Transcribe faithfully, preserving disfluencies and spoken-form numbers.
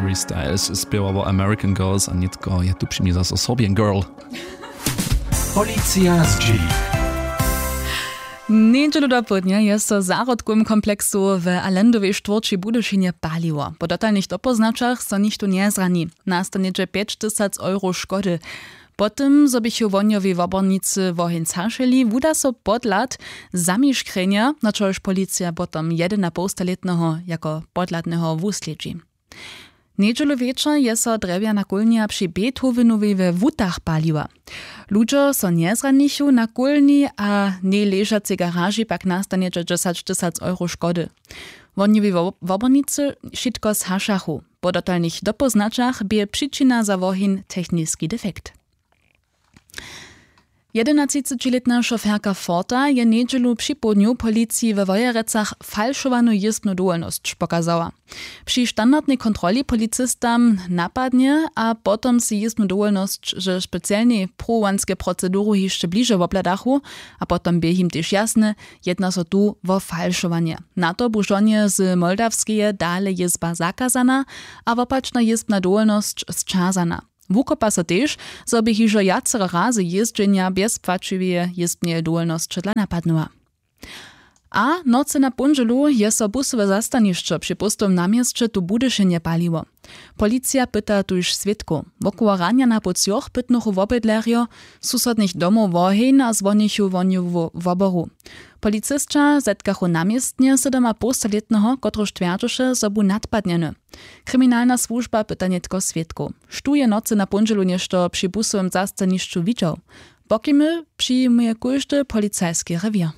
Harry Styles spěwa wo American Girls a nětko je tu při mi zaso Serbian Girl. Policija zdźěli. Njedźelu dopołdnja je so w zahrodkowym kompleksu w Allendowej štwórći w Budyšinje paliło. Po dotalnych dopoznaćach so nichtó njezrani. Nasta něhdźe pjećtysac euro škody. Po tym, zo běchu wohnjowi wobornicy woheń zašěli, wuda so podhlad zamiškrjenja, na čož policija potom jedynapołstalětneho jako podhladneho wuslědźi. Njedźelu wječor je so drjewjana kólnja při Beethovenowej we Wutach paliła. Ludźo so njezranichu, na kólni a njejležacej garaži pak nasta něhdźe dźesać tysac euro škody. Wohnjowi wo- wobornicy wšitko zhašachu. Po dotalnych dopoznaćach bě přičina za woheń techniski defekt. Jedenatřicećilětna šoferka Forta je njedźelu připołdnju policiji we Wojerecach falšowanu jězbnu dowolnosć pokazała. Při standardnej kontroli policistam napadnje a potom sej jězbnu dowolnosć ze specialnej pruwowanskej proceduru hišće bliže wobhladachu a potom bě jim tež jasne, jedna so tu wo falšowanje. Na to bu žonje z Moldawskeje dale jězba zakazana a wopačna jězbna dowolnosć sćazana. Wukopa so tež, zo bě hižo wjacere razy jězdźenja bjez płaćiweje jězbneje dowolnosće dla napadnyła. A nocy na póndźelu je so busowe zastanišćo při póstowym na měsće tu w Budyšinje paliło. Policija pyta tuž swědkow. Wokoło ranja na poł třoch pytnychu wobydlerjo susodnych domow woheń a zwonichu wohnjowu woboru. Policisća zetkachu na městnje sydomapołstalětneho, kotryž twjerdźeše, zo bu nadpadnjeny. Kriminalna słužba pyta nětko swědkow. Štó je nocy na póndźelu něšto při busowym zastanišću widźał? Pokimy přijimuje kóždy policajski rewěr.